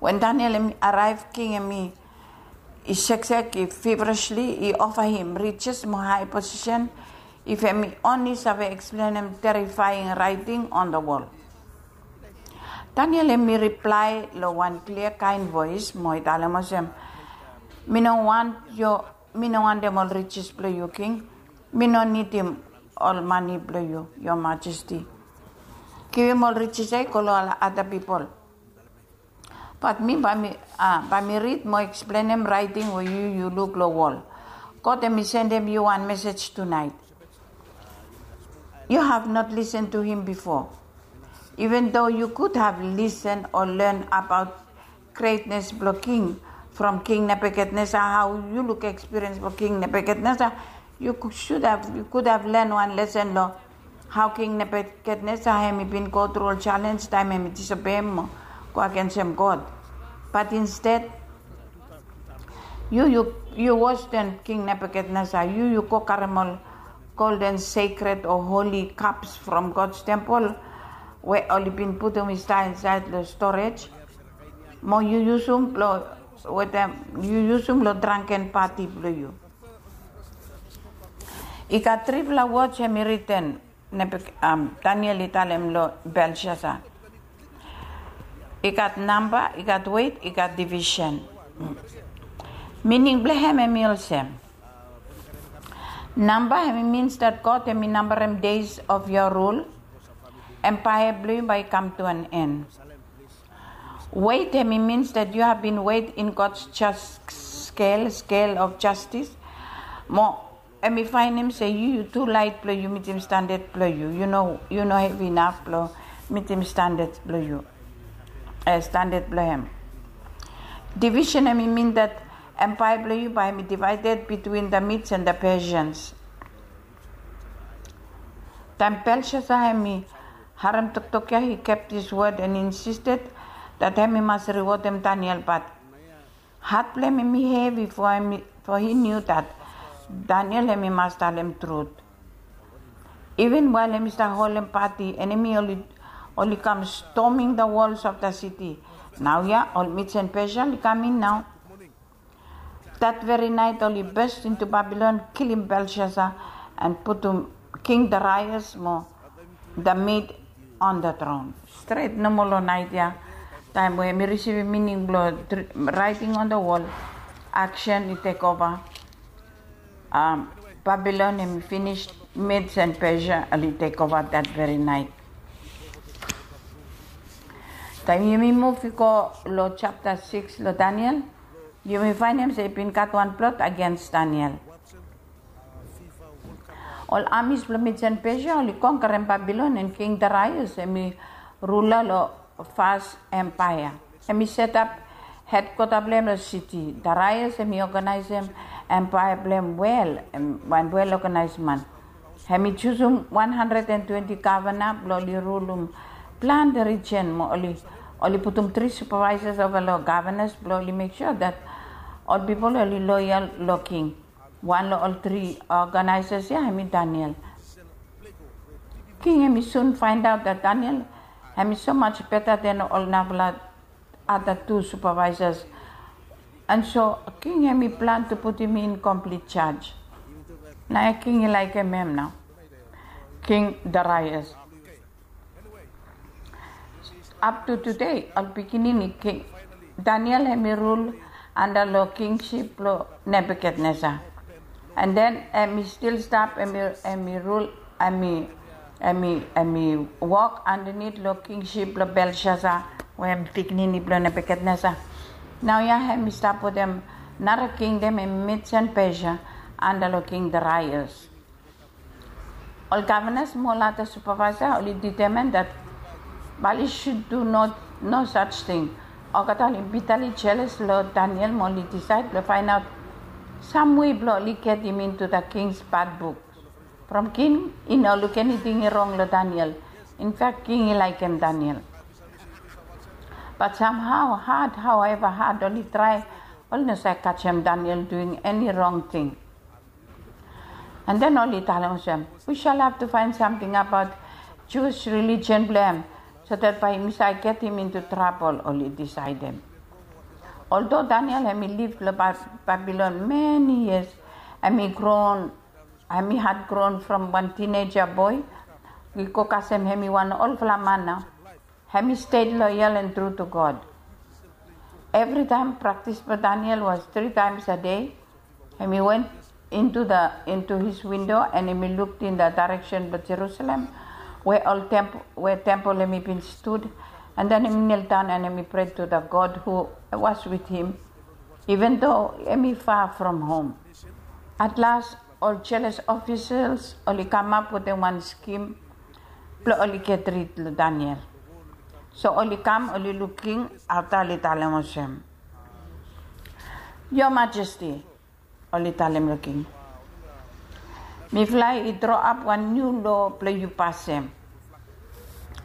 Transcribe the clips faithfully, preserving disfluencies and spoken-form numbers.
Wen Daniel hemi araev, king hemi i seksek, i fivrishli i ofa him rijes mo hae posisen if hemi onli save eksplenem terifaing raeting on the wol. Daniel hemi riplae long wan klia kaen voes mo i talem olsem, mi no wan yo mi no wantem ol rijes blong yu, king. Mi no nidim ol mane blong yu, yo majesti. Givim ol rijes ya i go long ol ada pipol. Bat mi bae mi a bae mi rid mo eksplenem raeting we yu yu luk long wol. God hemi sendem yu wan mesej tunaet. You have not listened to him before. Even though you could have listened or learned about greatness blong king from King Nebuchadnezzar, hao yu luk ekspiriens blong King Nebuchadnezzar, yu could have len wan lesen long hao King Nebuchadnezzar hemi bin go tru ol jalenj taem hemi disobeim mo go agensem God. Bat insted yu yu yu wos den King Nebuchadnezzar, yu yu go karem ol golden sekred o holi kaps from God's tempol we oli bin putum i stap insaed long storej, mo yu yusum blong wetem yu yusum long drangken pati blong yu. I gat trifala woj hemi riten, Daniel i talem long Belshaza. I gat namba, i gat weit, i gat divisen. Mining blong hem hemi olsem. Namba hemi mins dat God hemi nambarem days of your rule. Empire blong yu bae i kam to an end. Weit hemi mins dat you have been weighed in God's just scale, scale of justice. Mo hemi faenem se yu yu tu laet blong yu mitim standad blong yu. Yu no yu no hevi inaf blong mitim standad blong yu. Standad blong hem. Divisen hemi min dat empire blong yu bae hemi divaeded between the Medes and the Persians. Taem Belshaza hemi harem toktok ya, he kept his word and insisted dat hemi mas riwodem Daniel, bat hat blong hem hemi hevi, fo hi niu dat Daniel hemi mas talem trut. Even wael hemi stap holem pati, enemi oli oli kam storming the walls of the city. Naoia ol Medes and Persia oli kam in nao. Dat veri naet oli burst into Babylon, kilim Belshaza, and putum King Darius mo the Mede on the throne. Stret nomo long naet ya, taem we hemi risivim mining blong writing on the wall, aksen i tek ova. Babylon hemi finis, Medes and Persia oli tek ova dat veri naet. Taem yumi muv i go long japta sikis long Daniel, yumi faenem se i bin gat wan plot agens Daniel. Ol amis blong Medes and Persia oli konkerem Babylon, and King Darius hemi rula long Fas Empaea. Hemi setap hedkwata blong hem long siti. Darius hemi oganaesem empaea blong hem wel, wan wel oganaes man. Hemi jusum wan handred and twenti gavana blong oli rulum plante rijen mo oli putum tri supavaesas ova long gavanas blong oli mek sua dat ol pipol oli loyal long king. Wan long ol tri oganaesas ya hemi Daniel. King hemi sun faendaot dat Daniel hemi so much beta den ol narafala ada tu supavaesas. And so king hemi plan tu putum in komplit jas. Naoia king i laekem hem nao, King Darius. Up to today ol pikinini king Daniel hemi rul anda long kingsip blong Nebukadnesar. And then hemi stil stap hemi rul, hemi hemi hemi wok andanit long kingsip blong Belshaza, we hem pikinini blong Nebukadnesar. Naoia hemi stap wetem nara kingdom, hemi Medes and Persia, anda long King Darius. Ol gavanas mo ol ada supavaesa oli detemen dat bae oli sud du no saj ting. Olgeta oli bitali jeles long Daniel mo oli disaed blong faenaot samwe blong oli getem into da kings badbuk. From king i no luk eniting i rong long Daniel. Infak king i laekem Daniel. Bat samhao had, haoeva had oli trae, oli no save kajem Daniel duing eni rong ting. And then oli talem olsem, we shall have to find something about Jewish religion blong hem, so that bae yumi save getem into trabol, oli disaedem. Oldo Daniel hem i liv long Babilon meni yias, hem i gron hem i had gron from wan tineja boe i go kasem hem i wan olfala man nao. Hem i stei loyal and tru to God. Evritaem praktis blong Daniel was tri taems a dei. Hem i went into the into his window and hem i luk in the direction blong Jerusalem, we ol temp we tempel hem i bin stud, and then hem i nildaon and hem i pred to the God who was with him, even though hem i far from home. At last ol jeles ofisels oli kamap wetem wan skim blong oli get rid long Daniel. So oli kam oli luk king afta oli talem olsem, "Your Majesty," oli talem long king, "mifala i droap wan niu lo blong yu pasem."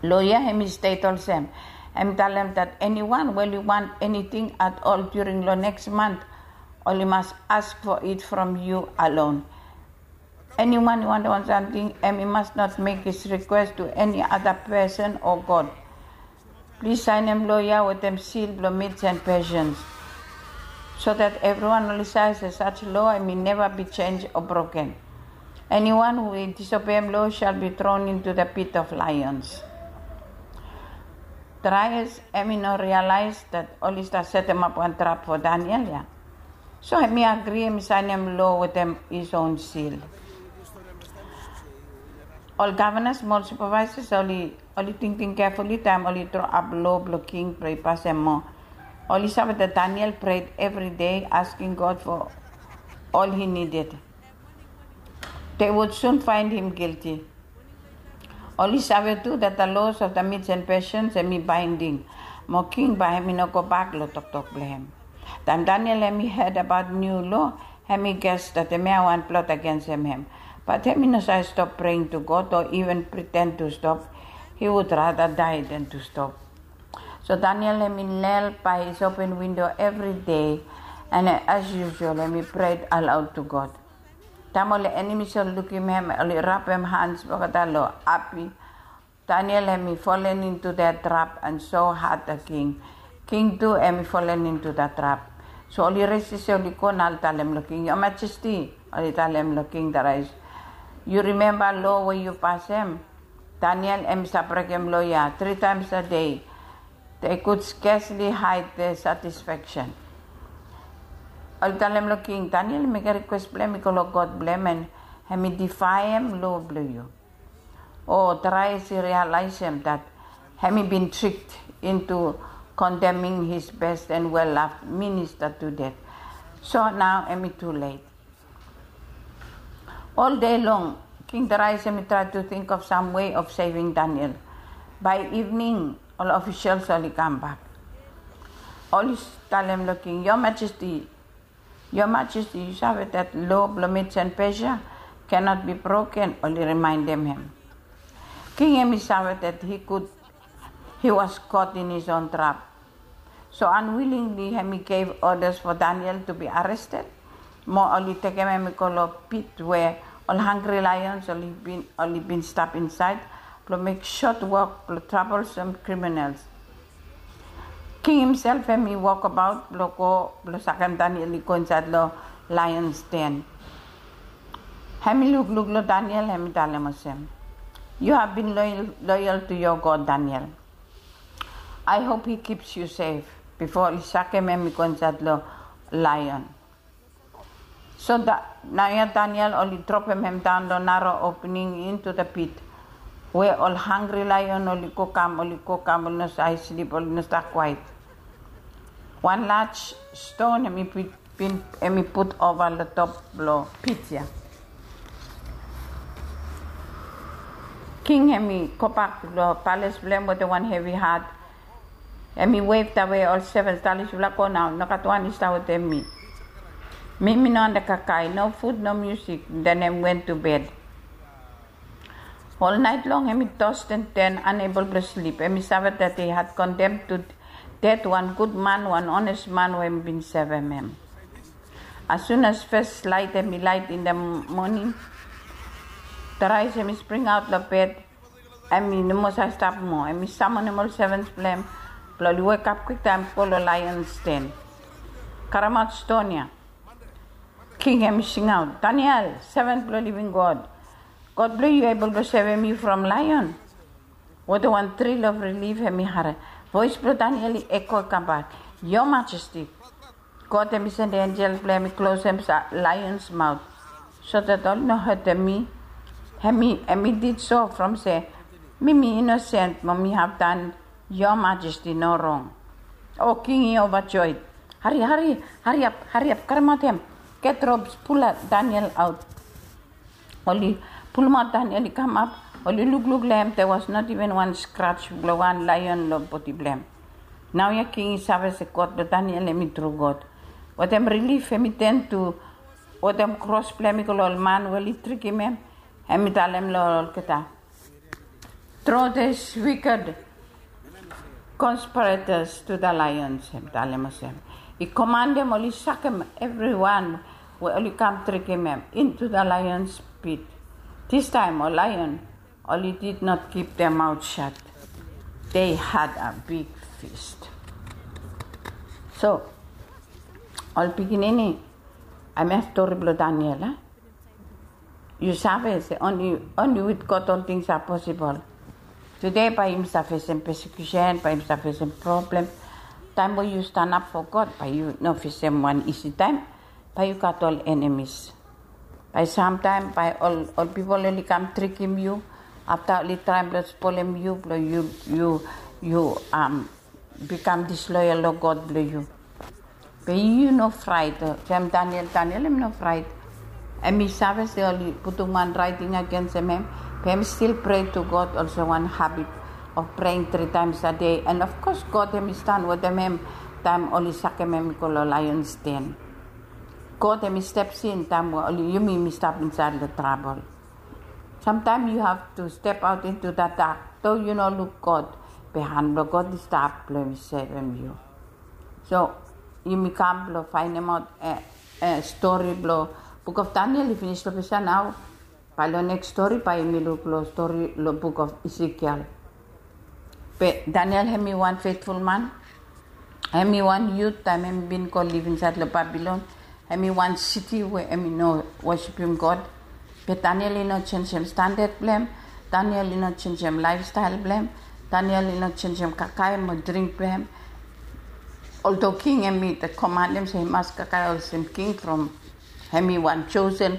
Lo ya hem i stet olsem, hem i talem that anyone we oli want anything at all during long next month, oli mas ask for it from you alone. Anyone i want want something, hem i must not make his request to any other person or God. Plis saenem lo ya wetem seal blong Medes and Persians, so that everyone oli sae se such law hem i never be changed or broken. Anyone who i disobeem law shall be thrown into the pit of lions. Darius hem i no realize that oli stap setemap wan trap for Daniel ya. So hem i agri hem i saenem lo wetem his own seal. Ol gavanas mo ol supervisors oli oli tingting carefully taem oli droap lo blong king blong i pasem mo oli save that Daniel prayed every day asking God for all he needed. They would soon find him guilty. Oli save tu that the laws of the Medes and Persians hem i binding, mo king bae hem i no gobak long toktok blong hem. Taem Daniel hem i heard about niu law, hem i guess that hemia wan plot agensem hem. But hem i no save stop praying to God or even pretend to stop. He would rather die than to stop. So Daniel hem i nel bae his open window evri dei, and as usual hem i prayed aloud to God. Taem ol enemies oli lukim hem oli rapem hans blong olgeta long hapi. Daniel hem i fallen into that trap and so had the king. King tu hem i fallen into that trap. So oli resis oli go na oli talem long king, "Your Majesty," oli talem long King Darius, "yu rimemba lo we yu pasem?" Daniel hem i stap brekem lo ya tri taems a dei. They could scarcely hide their satisfaction. Oli talem long king, Daniel i mekem rikwes blong hem i go long God blong hem, and hem i difaem lo blong yu. O Darius i realaesem that hem i bin tricked into condemning his best and well-loved minister to death. So nao hem i tu let. Ol dei long King Darius hem i trae tu ting of sam wei of seving Daniel. Bae ivning ol ofisels oli kambak. Oli talem long king, "Your Majesty, Your Majesty, yu save that lo blong Medes and Persia cannot be broken," oli rimaendem hem. King hem i save that he could he was caught in his own trap. So unwillingly hem i gave orders for Daniel to be arrested. Mo oli tekem hem i go long pit we ol hangri lions oli bin oli bin stap insaed blong mek sot wok blong troublesome criminals. King himself hem i wokabaot blong go blong sakem Daniel i go insaed long lions den. Hem i lukluk long Daniel hem i talem olsem, "You have been loyal, loyal to your God, Daniel. I hope he keeps you safe." Bifo oli sakem hem i go insaed long lion. So naoia Daniel oli dropem hem daon long naro opening into the pit we ol hangri lion oli go kam, oli go kam, oli no save slip, oli no stap kwaet. Wan laj ston hem i put bin hem i put ova long top blong pit ya. King hem i gobak long pales blong hem wetem wan hevi hat. Hem i wevtawe ol sevens, "Talis, yufala go nao, nogat wan i stap wetem mi. Mi mi no antap kakae, no fud, no musik." Den hem went to bed. Ol naet long hem i tost and turn, unable blong slip. Hem i save that he had condemned to death wan gud man, wan honest man we hem bin sevem hem. As soon as fes laet hem i laet in the morning, Darius hem i springaot long bed. Hem i no moa save stap moa. Hem i samonem ol sevens blong hem blong oli wekap kwiktaem go long lions den. Karemaot ston ya. King hem i singaot, "Daniel, seven blong living God, God blong yu ebol blong sevem yu from laion." Wetem wan tril of rilif hem i harem voes blong Daniel i eko i kambak, "Your Majesty, God hem i sendem enjel blong hem i klosem laions maot, so dat oli no hetem mi. Hem i did so from se mi mi inosen mo mi haftan. Your Majesty no rong." O king i ovajoed. Hari, hari, hariap, hariap, karemaot hem. Get robes, pula Daniel aot. Oli pulumaot Daniel i kamap. Oli lukluk long hem, there was not even wan scratch blong wan laion long bodi blong hem. Naoia king i save se God blong Daniel hem i tru God. Wetem rilif hem i ten tu, wetem kros blong hem i go long ol man we oli trikim hem. Hem i talem long olgeta, "Throw these wicked conspirators to the lions," hem talem olsem. I komandem oli sakem evriwan we oli kam trikim hem into the lions pit. This time ol laion oli did not keep their mouth shut. They had a big feast. So ol pikinini, hemia stori blong Daniel, a? Yu save se only, only with God all things are possible. Tude bae yumi save fesem persecution, bae yumi save fesem problem. Taem we yu stanap fo God, bae yu no fesem wan isi taem. Bae yu gat ol enemies. Bae samtaem bae ol, ol pipol oli kam trikim yu. Afta oli traem blong spolem yu, blong yu, yu, yu, um, bikam disloyal long God blong yu. Be yu no fraet, olsem Daniel, Daniel hem no fraet. Hem i save se oli putum wan raeting agensem hem, be hem stil prea tu God, olsem wan habit of praying three times a day. And of course God hem i stan wetem hem taem oli sakem hem i go long laions den. God hem i step in taem we oli, yumi, yumi stap insaed long trabol. Sometimes you have to step out into the dark. Though yu no luk God, be han blong God i stap blong hem i sevem yu. So yumi kam blong faenemaot, eh, eh, stori blong buk of Daniel i finis long ples ya nao. Bae long neks stori bae yumi luk long stori long buk of Ezekiel. Be Daniel hem i wan fetful man. Hem i wan yut taem hem i bin go liv insaed long Babilon. Hem i wan siti we hem i no wosipim God. Be Daniel i no jenjem standad blong hem. Daniel i no jenjem laefstael blong hem. Daniel i no jenjem kakae mo dring blong hem. Oldo king hem i komandem se i mas kakae olsem king from hem i wan josen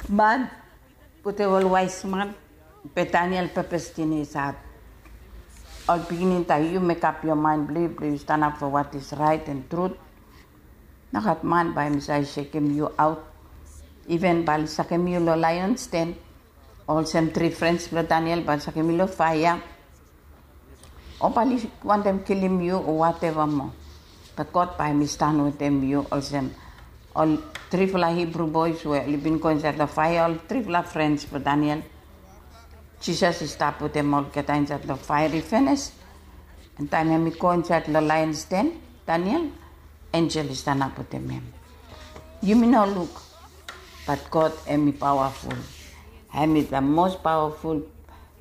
man wetem ol waes man. Be Daniel pepes tin i se, ol pikinini, taem yu mekap yoa maen blong yu, blong yu stanap fo what is right and truth, nogat man bae hem i save sekem yu aot. Iven bae oli sakem yu long laions den, olsem tri frens blong Daniel bae oli sakem yu long faea. O bae oli wantem kilim yu o wateva moa. Be God bae hem i stan wetem yu olsem ol trifala Hibru boes we oli bin go insaed long faea, ol trifala frens blong Daniel. Jisas i stap wetem olgeta insaed long faea i finis. And taem hem i go insaed long laions den, Daniel, enjel i stanap wetem hem. Yumi no luk, bat God hem i pawaful. Hem i the most powerful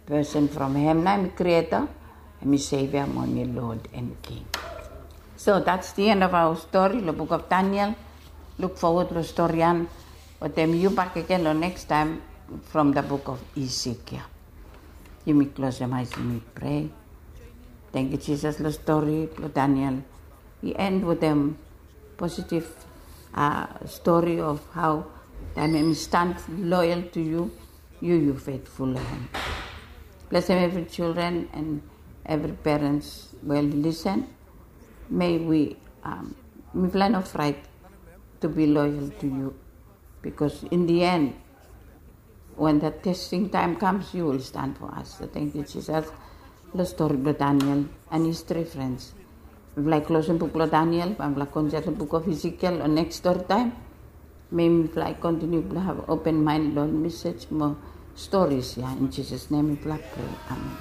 person from hem nao hem i Creator, hem i Savior mo hem i Lord and King. So that's the end of our story long buk of Daniel. Luk fowod long stori ya wetem yu bakegen long neks taem from the buk of Ezekiel. Yumi klosem ae yumi prea. Tangkiu Jisas long stori blong Daniel. I en wetem positive, uh, story of how taem hem i stan loyal to yu, yu, yu fetful long hem. Blesem evri children and evri parents we oli lisen. May we, um, mifala no fraet to be loyal to you, because in the end, when the testing time comes, you will stand for us. So tangkiu Jisas long stori blong Daniel and his three friends. Mifala i klosem buk blong Daniel, bae mifala go insaed long buk of Ezekiel long neks stori taem. May mifala i kontiniu blong have open mind long mesej mo stories ya. In Jisas nem mifala prea. Amen.